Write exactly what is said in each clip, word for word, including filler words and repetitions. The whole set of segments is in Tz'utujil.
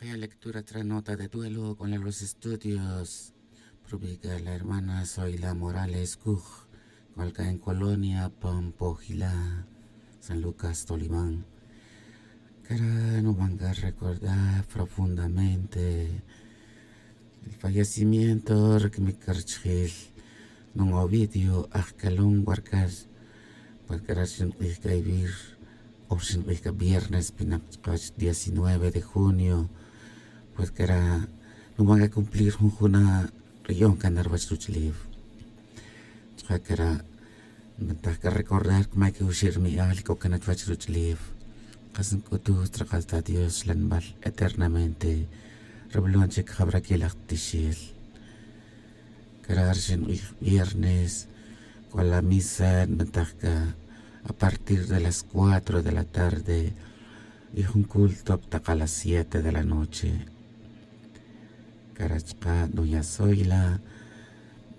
Lectura tras nota de duelo con los estudios. Prubica la hermana Zoila Morales Cuj, cualca en Colonia Pampojila, San Lucas Tolibán. Cara no van a recordar profundamente el fallecimiento de mi carchil, no Ovidio Ajcalón Huarcas, porque era sin ir o sin ir viernes, pinaq chqach diecinueve de junio, pues que era no van a cumplir jun juna riyon canar vach ruch'lif. Chqa que era me taj que recordar que may que uxir mi al que ocanach vach ruch'lif. Qas nc'utu traqal ta Dios lanbal eternamente. Reblon chic jabra que laj tixil. Cara rxin viernes, con la misa me taj que a partir de las cuatro de la tarde, y jun culto taq a las siete de la noche. Cara chqa doña Zoila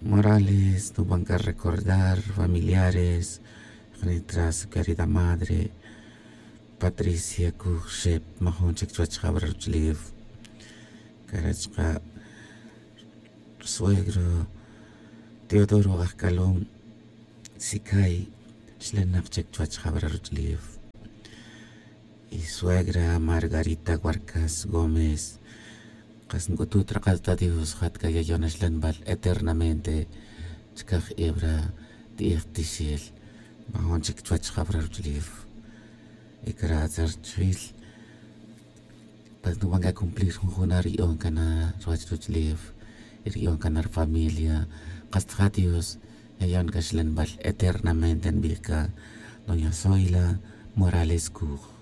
Morales, no van a recordar familiares, jnitra su querida madre Patricia Cuj Xep, majun chic chuwach jabra ruch'lif. Cara chqa suegro Teodoro Ajcalón Sicay, xlenak chic chuwach jabra ruch'lif. Y suegra Margarita Huarcas Gómez, qas nc'utu traqal ta Dios jat que yayon xlanbal eternamente chcaj ebra ti'ej tixil, majun chic chuwach jabra ruch'lif. Y cara tzar chil, pues no van a cumplir jun juna riyon canar ruwach ruch'lif, y riyon canar familia. Qas ta Dios yayon que xlanbal eternamente nbij ca doña Zoila Morales Cuj.